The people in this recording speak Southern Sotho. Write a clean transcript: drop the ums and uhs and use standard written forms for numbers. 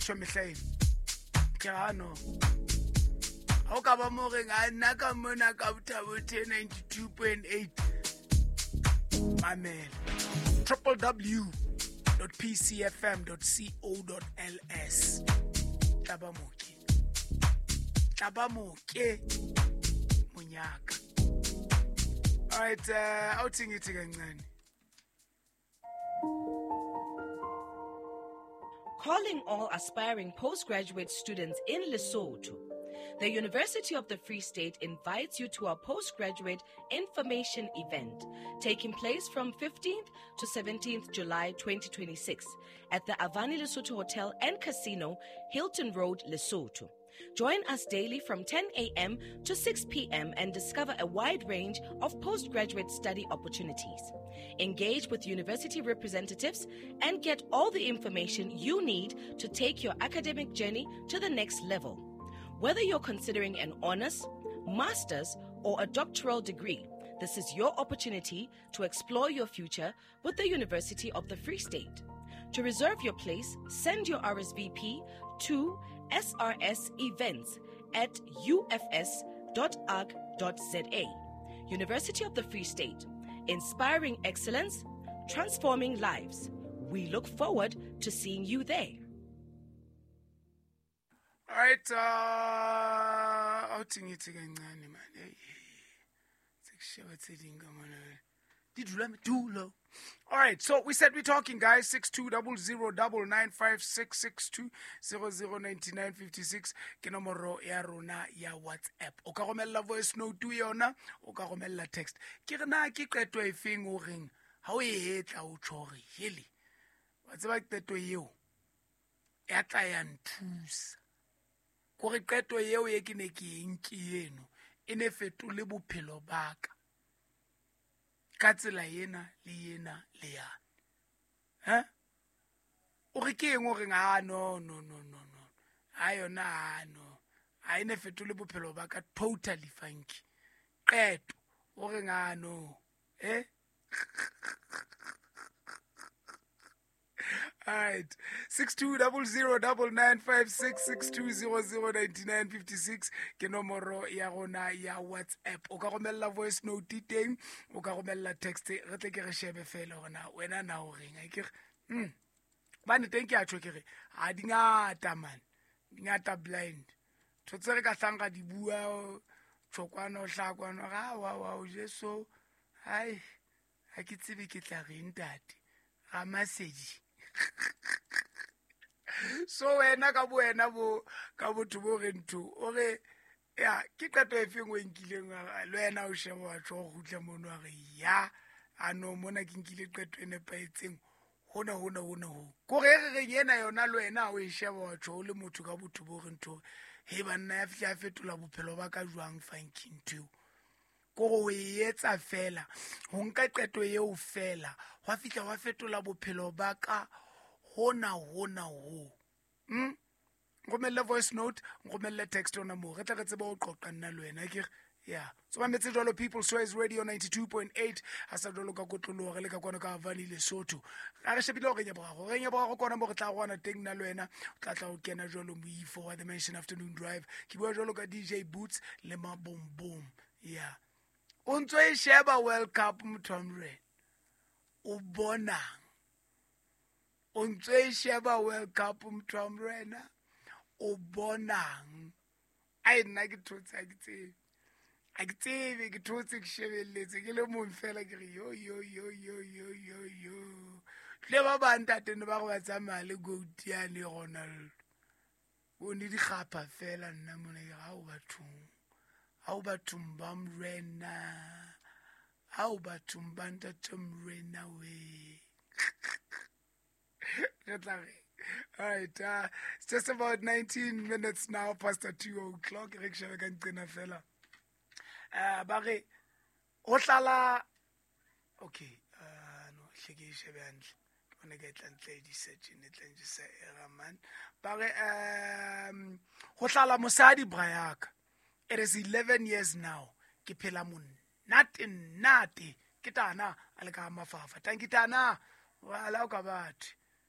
Tjho mehla eno ke ga no ga o ka ba mo reng a nna ka mona ka bothabothe 92.8 mamela www pcfm co ls tla ba moke, tla ba moke monyaka. Alright, awuthi ngithi kancane. Calling all aspiring postgraduate students in Lesotho. The University of the Free State invites you to our postgraduate information event taking place from 15th to 17th July 2026 at the Avani Lesotho Hotel and Casino, Hilton Road, Lesotho. Join us daily from 10 a.m. to 6 p.m. and discover a wide range of postgraduate study opportunities. Engage with university representatives and get all the information you need to take your academic journey to the next level. Whether you're considering an honors, master's, or a doctoral degree, this is your opportunity to explore your future with the University of the Free State. To reserve your place, send your RSVP to srsevents@ufs.arc.za. University of the Free State, inspiring excellence, transforming lives. We look forward to seeing you there. All right, awuthi ngithi kancane man. Hey, sekusheba tse ding ka mona. Di dula medulo. All right, so we said we're talking, guys. 6200 995 662 009956 ke nomoro ya rona ya WhatsApp. O ka romella voice note yona, o ka romella text. Ke re na ke qeto e feng o reng ha o e etla o tjho hore hele. Wa tseba qeto eo ya tla ya nthusa. Kore qeto eo e ke ne ke e nke eno e ne fetole bophelo ba ka ka tsela ena le ena le yane. Ha? O re ke eng o reng, ah, no, no, no, no, no. Ha yona, ah, no. Ha e ne fetole bophelo ba ka totally funky. Qeto o reng, ah, no. Eh? All right, 6200 995 6 62009956 ke nomoro ya rona ya WhatsApp. O ka romella voice note teng, o ka romella text, re tle ke re shebe fela hore na wena na o reng. A ke re, bane teng ke a tjho ke re, ha di ngata man, di ngata blind. Ntho tse re ka hlang ra di bua, tjhokwana o hlaha kwano, ra wa wa o Jesu, hai, ha ke tsebe ke tla reng ntate, Ramasedi. So wena ka bo wena bo ka botho bo re ntho o re ya ke qeto e feng o e nkileng, le wena o sheba wa tjho o kgutla mono wa re ya a no mona ke nkile qeto e nepahetseng hona hona hona ho kore e re reng ena yona le wena o e sheba wa tjho o le motho ka botho bo re ntho he banna ya fihla ya fetola bophelo ba ka jwang funky ntho eo. Kore o e etsa fela ho nka qeto eo fela hwa fihla hwa fetola bophelo ba ka hona hona ho. Nromelle voice note, nromelle text ona moo re tle re tsebe ho qoqa nna le wena ke re ya so mametse jwalo People's Choice Radio 92.8 ha sa jwalo ka kotloloho re le ka kwano ka Havani Lesotho. Ga re shebile hore nyaborago re nyaborago kona mo re tla rwana teng nna le wena o tla tla o kena jwalo moifo wa The Mansion Afternoon Drive. Ke bua jwalo ka DJ Boots le Mabombom. Ya o ntso e sheba World Cup motho wa morena o bonang, o ntso e sheba World Cup motho wa morena o bonang. Ai nna ke thotse, ha ke tsebe, ha ke tsebe, ke thotse ke shebelletse ke le mong fela ke re yo yo yo yo yo yo yo. Tle ba bang ntate ne ba re ba tsamaya le goat yane Ronaldo. O ne dikgapha fela nna mona ke re, hao bathong, hao bathong ba morena, hao bathong ba ntate morena we. Re tla re. All right, it's just about 19 minutes now past the 2 o'clock. Re ke shebe ka nqena fela. Ba re ho tlala, okay, no, hle ke e shebe hantle. Ke bona ka e tla ntle di search ne tla njisa error man. Ba re, ho tlala mosadi bra yaka. It is 11 years now. Ke phela monate nate. Ke tana a le ka mafafa. Tanki tana, wa la o ka batho.